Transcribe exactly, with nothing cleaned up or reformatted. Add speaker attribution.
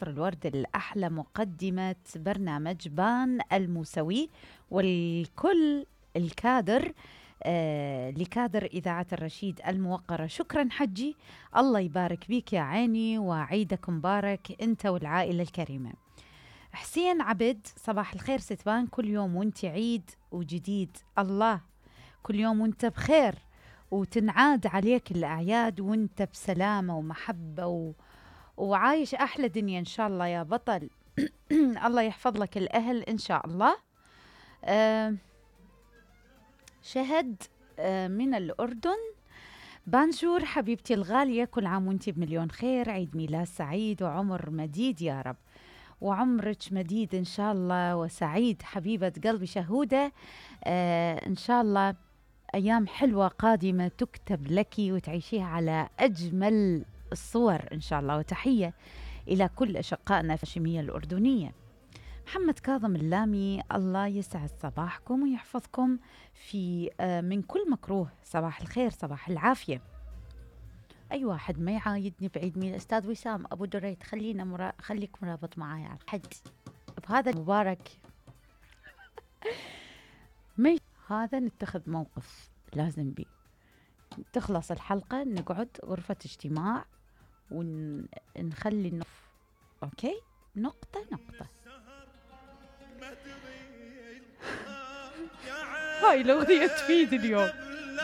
Speaker 1: عطر الورد الأحلى مقدمة برنامج بان الموسوي والكل الكادر آه لكادر إذاعة الرشيد الموقرة. شكرا حجي، الله يبارك بيك يا عيني، وعيدك مبارك أنت والعائلة الكريمة. حسين عبد، صباح الخير ستبان، كل يوم وانت عيد وجديد، الله كل يوم وانت بخير وتنعاد عليك الأعياد وانت بسلامة ومحبة و... وعايش أحلى دنيا إن شاء الله يا بطل. الله يحفظ لك الأهل إن شاء الله. أه شهد أه من الأردن، بانجور حبيبتي الغالية، كل عام وانت بمليون خير، عيد ميلاد سعيد وعمر مديد يا رب، وعمرك مديد إن شاء الله وسعيد حبيبة قلبي شهودة. أه إن شاء الله أيام حلوة قادمة تكتب لك وتعيشيها على أجمل الصور إن شاء الله. وتحية إلى كل أشقائنا في الهاشمية الأردنية. محمد كاظم اللامي، الله يسعد صباحكم ويحفظكم في من كل مكروه، صباح الخير صباح العافية. أي واحد ما يعايدني بعيد ميلاد أستاذ وسام أبو دريت، خلينا مرا... خليك مرابط معايا على الحد بهذا المبارك. مي هذا نتخذ موقف لازم بي، تخلص الحلقة نقعد غرفة اجتماع ونخلي النف أوكي نقطة نقطة. هاي الأغنية تفيد اليوم.